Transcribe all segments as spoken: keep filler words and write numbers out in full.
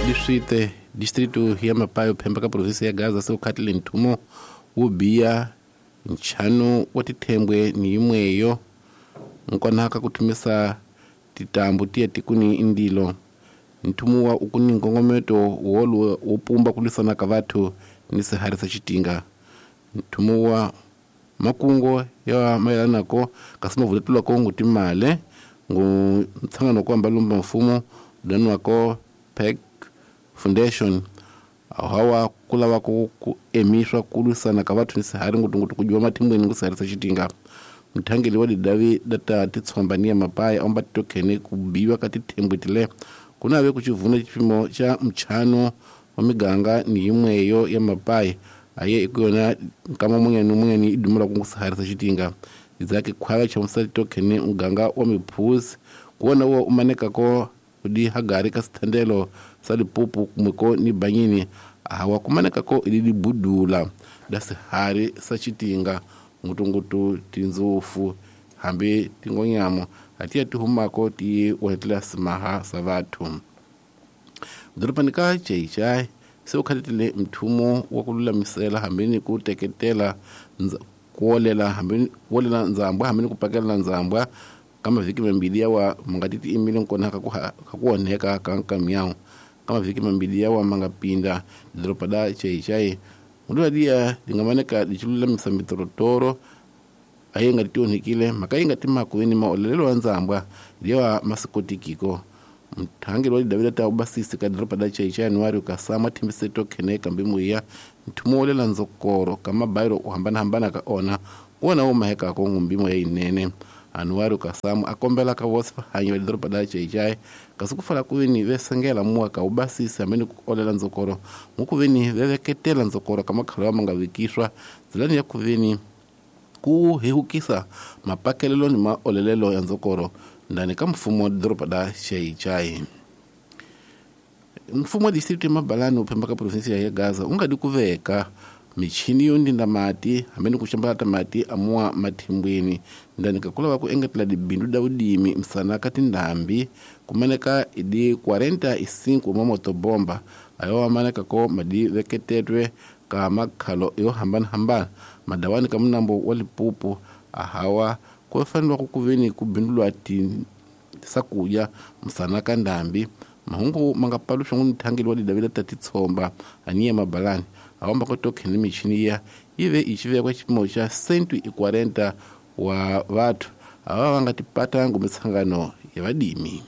Distrito distrito ya Mapayo phemba ka provinsi ya Gaza se ukhatile nthumo wo biya nchanu wa tithembwe ni yimweyo nkonaka kuthumisa titambu tiya tikuni indilo nthumo wa ukuni nkongometo wolu wo pumba kulwisana ka vathu ni sihari sa xitinga nthumo wa makungo ya mayelanako kasi mavuletulwako ngu timale ngu ntshangano ku ambalumba mfumo danwako P E C Foundation hawa kulava ku ku emiswa ku lwisana ka vathu ni sihari ngutungutu ku dyiwa mathimbweni ngu sihari sa xitinga muthangeli wa didavi data titshomba ni ya mapaya omba titokhene ku biwa ka tithembwe tile ku nave ku xivuna xipimo xa mchano wa miganga ni yimweyo ya mapaya aye iku yona nkama munyani munyani i dumela ku ngu sihari sa xitinga idzake khwava chamusa titokhene muganga wa miphuzi kuwona wo umanekako di hagari ka sithandelo sa lipupu kumweko ni banyini hawa kumanekako ili libudula da sihari sa xitinga ngutungutu tindzufu hambi tingonyamo atiya tihumako ti onetela simaha sa vathu dorobani ka Xai-Xai se ukhatitile mthumo wa ku lulamisela hambi ni ku teketela kuolela hambi kuolela ndzambwa hambi ni ku pakelela ndzambwa ka mavhiki mambili yawa ma nga ti tiimile nkona ka ku ka ku onheka ka nkamyawu ka mavhiki mambili yawa ma nga pinda doroba da Xai-Xai mudula liya lingamaneka lichilulamisa mitorotoro aye nga ti onhekile mhaka yi nga ti makueni maolelelo wa ndzambwa liwa masikotikiko mthangeli wa lidavila ta ubasisi ka doroba da Xai-Xai January kasama thimbise tokhene kambe muya nthumo wolela ndzokoro ka mabayiro ku hambanahambana ka ona kuwona wo mahekako ngumbimo ya yinene Anuário Kassamo a kombela ka vosi vahanyi va doroba da Xai-Xai kasi ku fala kuveni ve sengela muwa ka ubasisi hambi ni ku olela ndzokoro mukuveni ve veketela ndzokoro ka makhalo ma nga vekiswa ndzilani ya kuveni ku hehukisa mapakelelo ni maolelelo ya ndzokoro ndani ka mfumo wa doroba da Xai-Xai. Mfumo wa distrito ya Mabalani wu phemba ka provinsi ya Gaza wu nga di ku veka michini yo ndinda mati hambi ni ku xambalata mati amuwa mathimbweni ndani ka kulava ku engetela dibindu da vudimi msana ka tindhambi kumaneka idi quarenta e cinco wa motobomba ayo amaneka ko madi veketetwe ka makhalo yo hambanahambana madawani ka munambo wa Lipupu ahawa ku faneliwa ku kuveni ku bindulwa ti sakudya msana ka ndhambi mahungu ma nga paluxa ngu mthangeli wa lidavila ta titshomba aniya Mabalani awamba ko tokhene michini ya ive ichivekwa xipimo xa cento e quarenta wa vathu ava va nga tipata ngumitsangano ya vadimi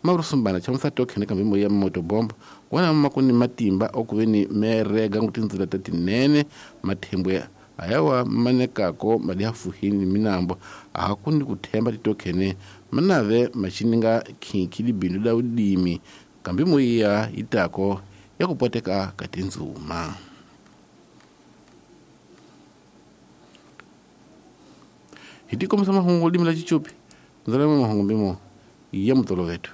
Marusumbana chamusa tokhene kambe moya motobombo wona makuni matimba okuveni merega ngutindzila ta tinene mathembwe ayawa manekako mali ya fuhini minambo ahakuni kuthemba titokhene manave machininga khinkhi libindu la udimi kambe moya itako ya kupoteka ka tindzuma hi tikomisa mahungu limi la chichupi ndzalama mahungu mbimo ya mutoloveto.